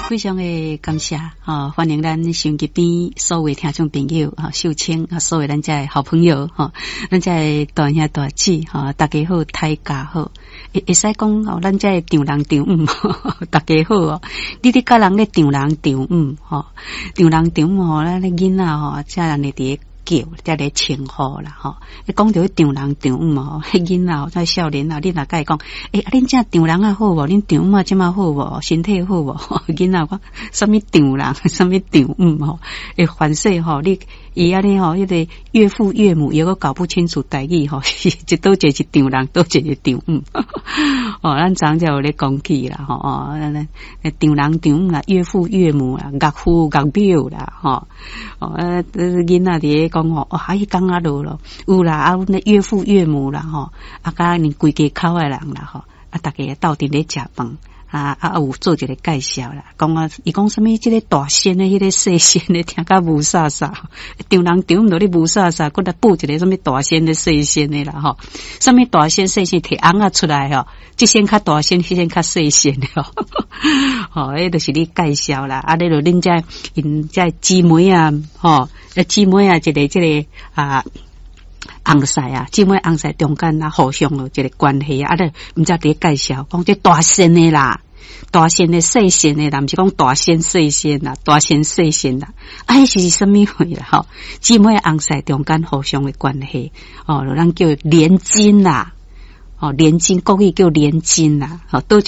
非常的感謝，吼，歡迎咱收音機邊所有聽眾朋友，吼，秀清啊，所有咱遮的好朋友，吼，咱遮的大兄大姊，吼，大家好，大家好，會使講吼，咱遮的丈人丈母，大家好哦。你咧佮人咧丈人丈母，吼，丈人丈母吼，咱咧囡仔吼，遮人會佇咧叫，遮咧稱呼啦，吼。你講著彼丈人丈母吼，彼囡仔吼，這少年啊，你若共伊講，欸，啊，恁遮丈人仔好無？恁丈母仔這馬好無？身體好無？囡仔講，啥物丈人，啥物丈母吼？會凡勢吼，你伊按呢吼，彼個岳父岳母猶閣搞不清楚台語吼，是佗一個是丈人，佗一個是丈母。哦，咱昨才有咧講起啦，吼哦，丈人丈母啦，岳父岳母啦，岳父岳母啦，吼哦，囡仔佇咧講吼，哇，彼工仔落咯，有啦，啊，阮的岳父岳母啦，吼，啊，佮𪜶規家口的人啦，吼，啊，逐家鬥陣咧食飯。啊啊有做一個介紹啦，講啊，伊講啥物？這個大仙的，彼個細仙的，聽甲霧煞煞。丈人丈母咧霧煞煞，閣來報一個啥物大仙的細仙的啦，吼。啥物大仙細仙提尪仔出來吼，這仙較大仙，彼仙較細仙的吼。吼，彼就是咧介紹啦。啊，你就恁遮𪜶遮姊妹啊，吼，姊妹啊，一個這個啊。翁婿啊，姊妹翁婿中間啊，互相有一個關係啊，啊，你毋知佇咧介紹，講這大仙的啦，大仙的細仙的啦，毋是講大仙細仙啦，大仙細仙啦，啊，彼是啥物貨啦？吼，姊妹翁婿中間互相的關係，哦，咱叫連襟啦，哦，連襟國語叫連襟啦，吼，佗